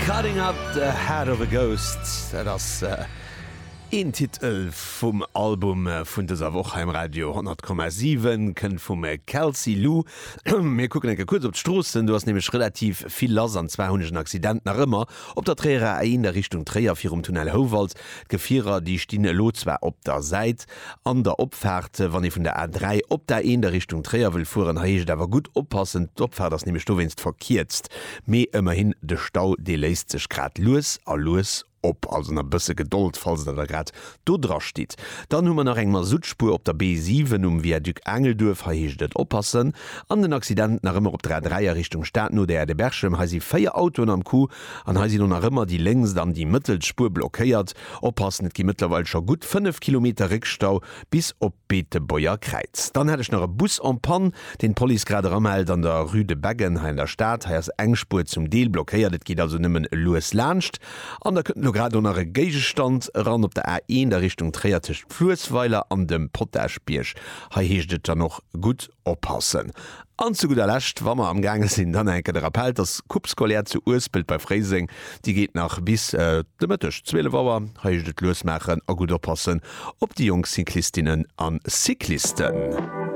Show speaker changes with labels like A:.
A: Cutting Up The Head Of A Ghost, dat ass een Titel vum Album vun dëser Woch hei um Radio 100,7, kënnt vum Kelsey Lu. Mir kucken eng Kéier kuerz op d'Stroossen, do ass nämlech relativ vill lass an zwar hunn ech en Accident nach ëmmer op der Tréierer A1 a Richtung Tréier virum Tunnel Houwald. D'Gefierer déi stinn elo zwar op der Säit an der Opfaart, wann ee vun der A3 op d'A1 a Richtung Tréier wëll fueren. Hei heescht et awer gutt oppassen, d'Opfaart ass nämlech dowéinst verkierzt. Mee ëmmerhin, de Stau dee léist sech grad lues a lues op. Also nach e bësse Gedold, falls der da grad do dra stitt. Dann hu mer nach eng Masuttspuer op der B7 um Viaduc Aangelduerf, hei heescht et oppassen. An den Accident nach ëmmer op der A3 a Richtung Stad no der Aire de Berchem, hei si 4 Autoen am Coup an hei sinn och nach ëmmer déi lénkst an déi mëttelst Spuer blockéiert. Oppassen, et gi mëttlerweil scho gutt 5 Kilometer Réckstau bis op d'Beetebuerger Kräiz. Dann hätt ech nach e Bus en panne, deen d'Police grad eramellt an der Rue de Beggen hei an der Stad. Hei ass eng Spuer zum Deel blockéiert, et geet also nëmmen lues laanscht. An da kënnt elo grad och nach e Géigestand eran op der A1 a Richtung Tréier tëscht Fluessweiler an dem Potaschbierg. Hei heescht et dann och gutt oppassen. An zu gudder Lescht, wa mer am gaange sinn, dann enke de Rappel, dass d'Coupe scolaire zu Uespelt bei Fréiseng, déi geet nach bis de Mëtteg 12 Auer. Hei heescht et lues maachen a gutt oppassen op déi jonk Cyclistinnen a Cyclisten.